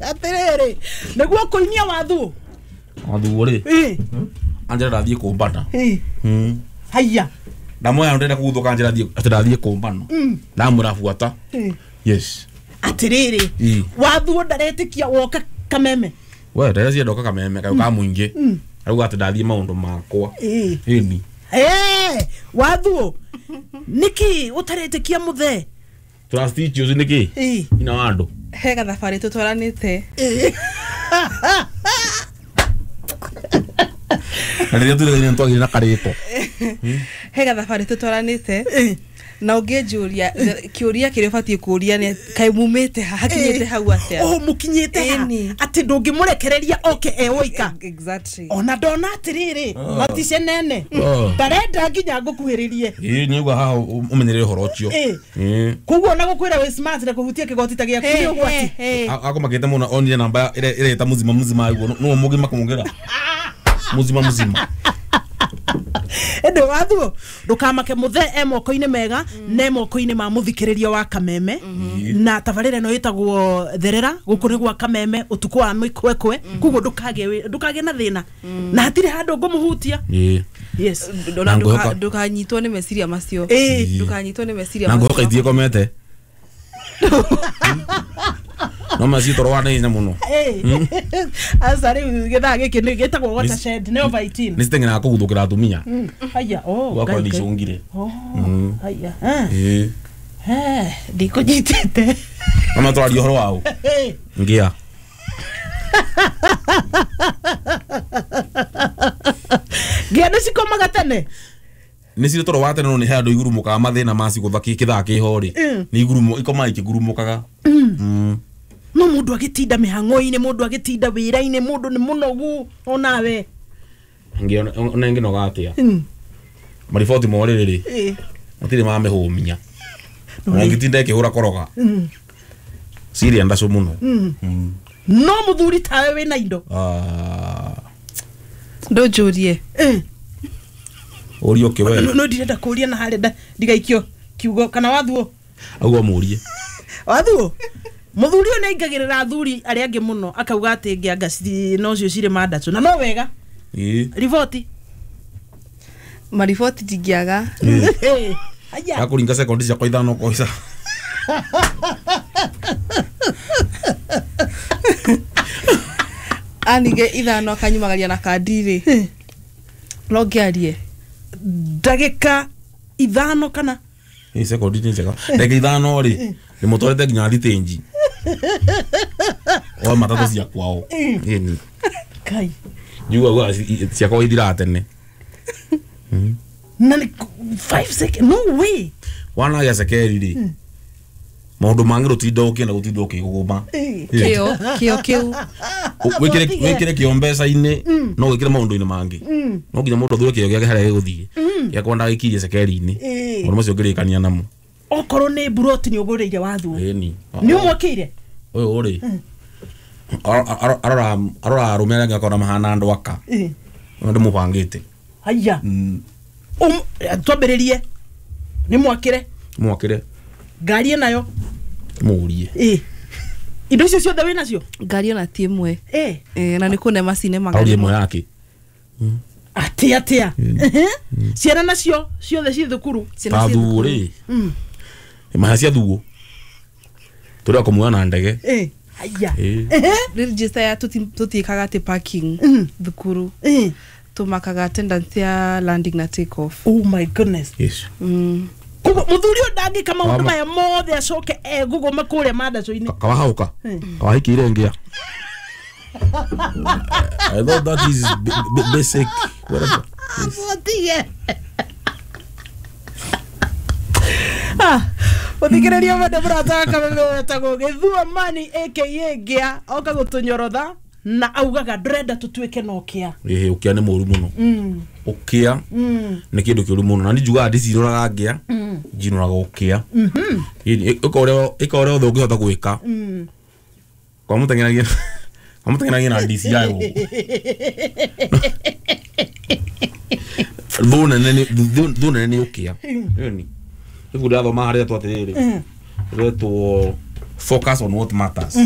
Atiriri niguo kuinia wathu. Wathu ri. Anjira ndathie kumbana. Haya. Ndamoya ndenda kuguthuka anjira thie ati ndathie kumbana. Ndamura buata. Yes. Atiriri wathu ndaretikia woka Kameme. We ndaracia ndoka Kameme kayo ka muingi. Arauga ati ndathie maundu makwa. Ini. Wathu niki utaretikia muthe. Trust issues niki? Ina wandu. He gathabari tutwaranite. Na rĩrĩa tũrĩ twagire na karĩko. He gathabari tutwaranite. Na ũngĩnjũria kĩũria kĩrĩa ũbatiĩ kũũria nĩ kaĩ mumĩte ha hakinyĩte hau atĩa? Oh, mũkinyĩte ha atĩ ndũngĩmũrekereria oke e woika. Exactly. Ona ndona atĩrĩrĩ matice nene ndarenda nginya ngũkuhĩrĩrie. Ĩĩ nĩuga haha ũmenyerere ũhoro ũcio. Koguo ona gũkwĩra wĩ smart na kũhutia kĩgoti ta gĩaku nĩ ũgwati. Akũmakĩte mũno onire namba ĩreta muzima muzima ũguo nũ mũgima kũmũngĩra. Muzima muzima. Ende wathu ndukamake muthe e moko-inĩ mega ne moko-inĩ ma muthikiriria wa Kameme na tabarĩra ĩno ĩtagwo Therera gũkũ nĩ gwa Kameme ũtukũ wa mĩkwekwe koguo ndukage na thĩna na hatirĩ handũ ngũmũhutia. Yes. Ndukanyitwo nĩ meciria macio. Ndukanyitwo nĩ meciria macio. Na ngũhoka ithiĩ komete. No macio toro wa naihenya mũno. Aca rĩu gĩthaa gĩkĩ nĩ gĩtagwo watershed nĩ over 18. Nĩ citeng'eraga kũguthũkĩra atumia. Haya, oh. Gwakwa nĩ icũngire. Haya. Ndikũnyitĩte. Mama twaria ũhoro wa ũ? Ngia. Ngia nĩ cikomaga tene? Nĩ cirĩ toro wa tene no nĩ he andũ igurumũkaga mathĩna macigũtha kĩthaa kĩho rĩ. Nĩ igurumo ikomaga ikĩgurumũkaga. No mundu agitinda mĩhang'o-inĩ mundu agitinda wĩra-inĩ mundu nĩ mũnogu onawe. Ngiona ona nginoga atia. Mariboti morĩrĩ rĩ. Matirĩ mamĩhũmia. Ona ngĩtinda ĩkĩhũra koroga. Ciria ndacũ mũno. No mũthuri tawe wĩna indo. Ndũnjũrie. Ũrio kĩwe. No ndirenda kũria na harĩa ndigaikio kiugo kana wathuo. Auga mũrie. Wathuo. Muthuri ũyũ nĩaingagĩrĩra athuri arĩa angĩ mũno akauga atĩ ngĩanga nocio cirĩ mandatũ na no wega. Riboti. Mariboti ndingĩaga. Aya. Yakũringa sekondi ciakwa ithano koica. Anige ithano akanyumagaria na kandi rĩ. No ngĩarie. Ndagĩka ithano kana? Ĩ sekondi nĩ njega. Ndagĩka ithano rĩ ndĩmũtwarĩte nginya thitĩnji. O matatũ cia kwao. Ĩni. Kai. Njugaga ciakwa ithiraga tene. Na nĩ 5 seconds. No way. Wanagĩa cekeri rĩ. Maũndũ mangĩ rũtinda ũkĩenda gũtinda ũkĩgũgũma. Kĩo kĩo kĩu. Wĩkĩre kĩo mbeca-inĩ no wĩkĩre maũndũ-inĩ mangĩ. No nginya mũndũ athure kĩo gĩake harĩa gĩgũthiĩ. Gĩakwa ndagĩkirie cekeri-inĩ. Maũndũ macio ngĩrĩkania namo. Okorwo nĩ buroti nĩ ũgũrĩire wathuo. Ĩni. Nĩ ũmwakĩire? Ũyũ rĩ. Arora arũme arĩa angĩ akona mahana andũ aka. Ũyũ ndĩmũbangĩte. Haya. Twambĩrĩrie. Nĩ mwakĩre. Mwakĩre. Ngari nayo. Mũrie. Indo icio ciothe wĩ nacio? Ngari ona ti ĩmwe. Na nĩ kũne macine magana. Ĩmwe yake. Atia atia. Ciana nacio ciothe ci thukuru. Wathuo rĩ. Maha cia thuo. Tũrĩa kũmuoya na ndege. Haya. Register ya tũtiĩkaga atĩ parking thukuru. Tũmakaga attendance ya landing na take off. Oh my goodness. Yes. Koguo mũthuri ũyũ ndangĩka maũndũ maya mothe acoke egũgũma kũrĩa mandacũ-inĩ. Kawahauka. Kawahikĩire ngĩa. I thought that is basic whatever. Mũtige. Mũthikĩrĩria mwende mũrata wa Kameme wetagwo Gĩthua Mani aka Ngĩa oka gũtũnyorotha na augaga ndũrenda tũtuĩke na ũkĩa. Ĩhĩ ũkĩa nĩ mũru mũno. Ũkĩa nĩ kĩndũ kĩũru mũno na niĩ njugaga ndicirũraga ngĩa njinũraga ũkĩa. Ĩka ũrĩa othe ũngĩhota gwĩka. Kwa mũteng'eragia na DCI gũkũ. Thũ nene nĩ ũkĩa. Ĩni. Ibuku ndĩrathoma harĩa rĩtwo atĩrĩrĩ. Rĩtwo Focus on What Matters.